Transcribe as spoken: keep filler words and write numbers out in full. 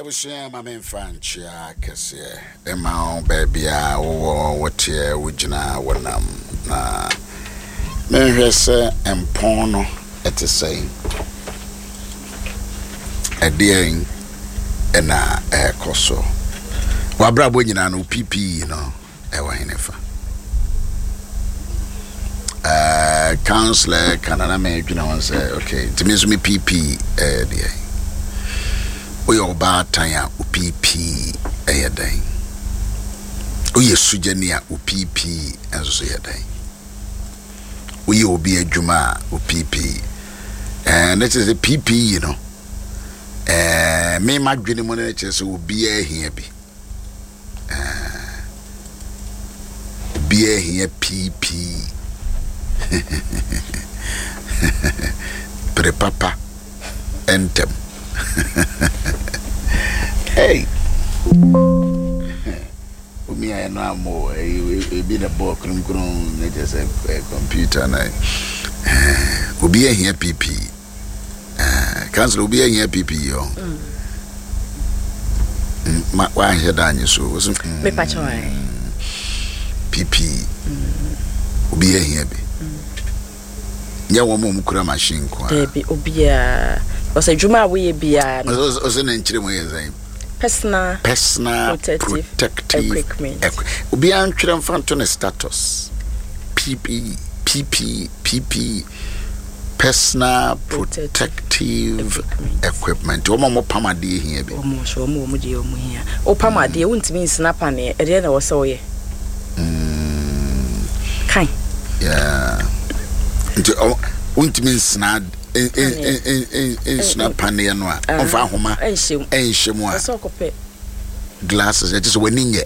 Abusua, ma memfa nkyea kɛseɛ ɛma wo baabi a wowɔ, woteɛ, wogyina, wonam, na menhwɛ sɛ mpɔn no ɛte sɛn, ɛdeɛn ɛna ɛrekɔ so. Wabrabɔ nyinaa no, P P E no ɛwɔ hene fa? uh, counselor kana na medwene ho sɛ, okay, nti me nso me P P E ɛyɛ deɛn? Woyɛ ɔbaatan a, wo P P E ɛyɛ dɛn? Woyɛ sugyani a, wo P P E nso so yɛ dɛn? Woyɛ obi adwuma a, wo P P E ɛɛ ne kyerɛ sɛ P P E no, ɛɛ me ma dwene mu no kyerɛ sɛ obiara hia bi, ɛɛ obiara hia P P E pere papa ntɛm. Hey, omi ayɛ no amɔ ebi na bɔɔ kronkron ne kyerɛ sɛ ɛ, computer na ɛɛ, obi ahia P P E. ɛɛ councilor, obi ahia P P E ɔ Mm, ma wanhyɛ da anye so woso mm, Mepa kyɛw ɛ. P P E, obi ahia bi, nyɛ wɔn a wɔn kura machine nko a. Daabi, obiara, because adwuma a woyɛ biara no. ɔsɛ ɔsɛ ne nkyerɛ mu yɛ sɛn? Personal personal protective protective equipment. equi- obiara ntwerɛ mfa nto ne status. P P E, P P E, P P E, personal protective protective equipment. Equipment. Wɔn a wɔpam adeɛ hia bi. Wɔn nso, wɔn wɔn deɛ wɔn hia. Wopam adeɛ, wontumi nsena paneɛ, ɛdeɛ na ɛwɔ sɛ woyɛ kan. Yeah. Nti ɔ- wontumi nsena en- en- en- en- en- nsena paneɛ no a, ɔmfa ahoma ɛnhyɛ mu. ɛnhyɛ mu a ɛsɛ ɔkɔpɛ glasses, ɛkyɛ sɛ w'ani nyɛ.